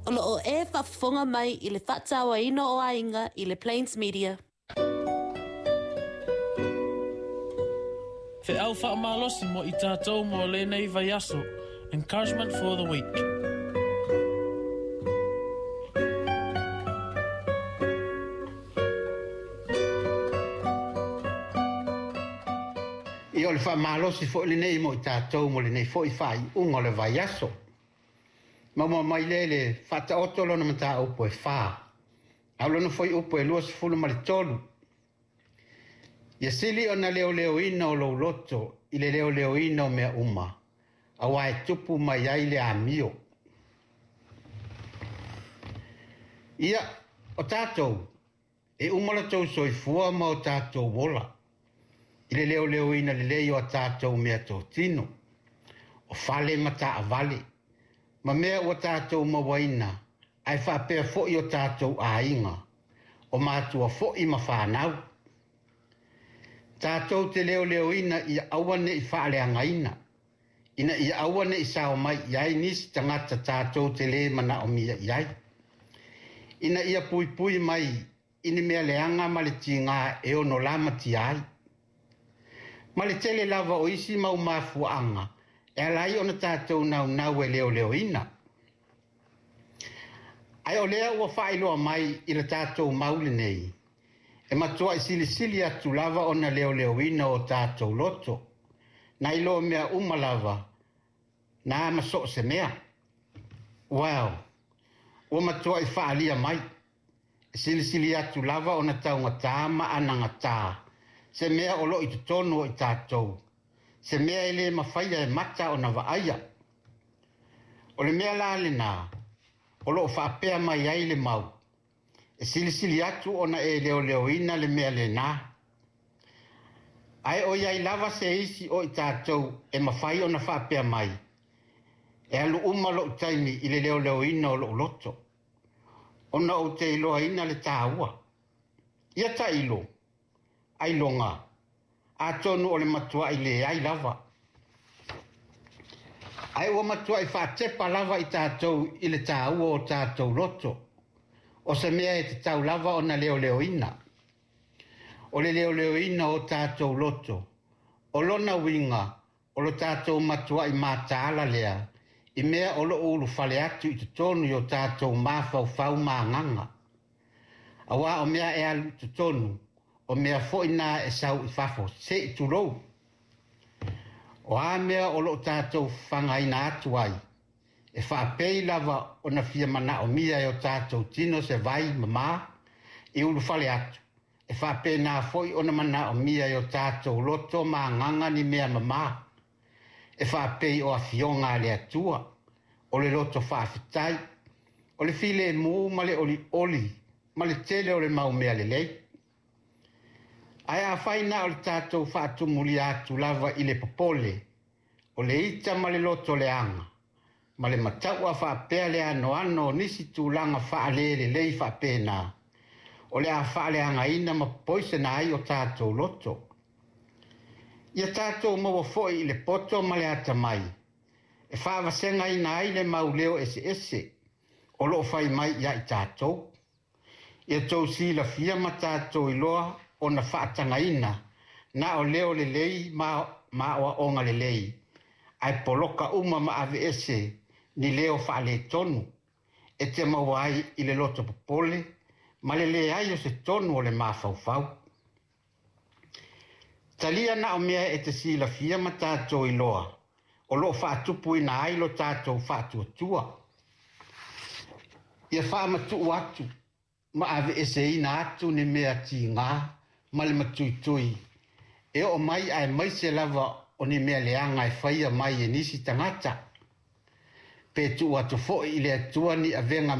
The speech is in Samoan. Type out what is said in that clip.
O lo o e faafofoga mai i le faatauaina o aiga i le Plains Media. Feau faamalosi mo i tatou mo lenei vaiaso. Encouragement for the week. Ia o le faamalosi foi lenei mo i tatou mo lenei foi faaiuga o le vaiaso. Maua mai lea i le Faataoto lona mataupu e 4, a o lona fuaiupu e 23. Ia sili ona leoleoina o lou loto i le leoleoina o mea uma, aua e tupu mai ai le amio. Ia, o tatou, e uma lo tou soifua ma o tatou ola, i le leoleoina lelei o a tatou meatotino, o fale ma taavale, ma mea ua tatou mauaina, ae faapea foi o tatou aiga, o matua foi ma fanau. Tatou te leoleoina ia aua ne'i faaleagaina, ina ia aua ne'i sao mai i ai nisi tagata tatou te lē manaomia i ai, ina ia puipui mai i ni mea leaga ma le tigā e ono lamatia ai. Ma le tele lava o isi mau mafuaaga e ala ai ona tatou naunau e leoleoina. Ae o lea ua faailoa mai i le tatou mau lenei, e matuai silisili atu lava ona leoleoina o tatou loto, nai lo mea uma lava, na ma so o se mea. Well, ua matuai faaalia mai, e silisili atu lava ona taugatā ma anagatā se mea o lo o i totonu o i tatou, se mea e lē mafaia e mata ona vaaia. O le mea la lenā o lo o faapea mai ai le mau, e silisili atu ona e leoleoina le mea lenā. Ae o i ai lava se isi o i tatou e mafai ona faapea mai, e alu uma lou taimi i le leoleoina o lou loto, ona ou te iloaina le taua. Ia tailo, ailoga, atonu o le matuai leai lava. Ae ua matuai faatepa lava i tatou i le taua o tatou loto, o se mea e tatau lava ona leoleoina. O le leoleoina o tatou loto, o lona uiga o lo tatou matuai mataala lea i mea o lo o ulufale atu i totonu i o tatou mafaufau ma agaga. Aua o mea e alu i totonu, o mea foi na e sau i fafo, se i tulou. O a mea o lo o tatou fagaina atu ai, e faapei lava ona fia manaomia e o tatou tino se vai mamā i ulufale atu, e faapena foi ona manaomia e o tatou loto ma agaga ni mea mamā, e faapei o afioga a le Atua, o le loto faafetai, o le filemu ma le olioli ma le tele o le mau mea lelei. Ae afai na o le tatou faatumulia atu lava i le popole, o le ita ma le loto leaga, ma le mataua faapea le anoano o nisi tulaga faalelelei faapena, o le a faaleagaina ma poisena ai o tatou loto. Ia tatou maua foi i le poto ma le atamai, e faavasegaina ai le mau leo eseese o lo o fai mai ia i tatou. Ia tou silafia ma tatou iloa ona faatagaina na o leo lelei ma aoaoga lelei, ae poloka uma ma aveese ni leo faaletonu e te maua ai i le loto popole ma le leai o se tonu o le mafaufau. Talia na o mea e te silafia ma tatou iloa o lo o faatupuina ai lo tatou faatuatua. Ia faamatuu atu ma aveeseina atu ni mea tigā ma le matuitui e oo mai aemaise lava o ni mea leaga e faia mai e nisi tagata. Pe tuu atu foi i le Atua ni avega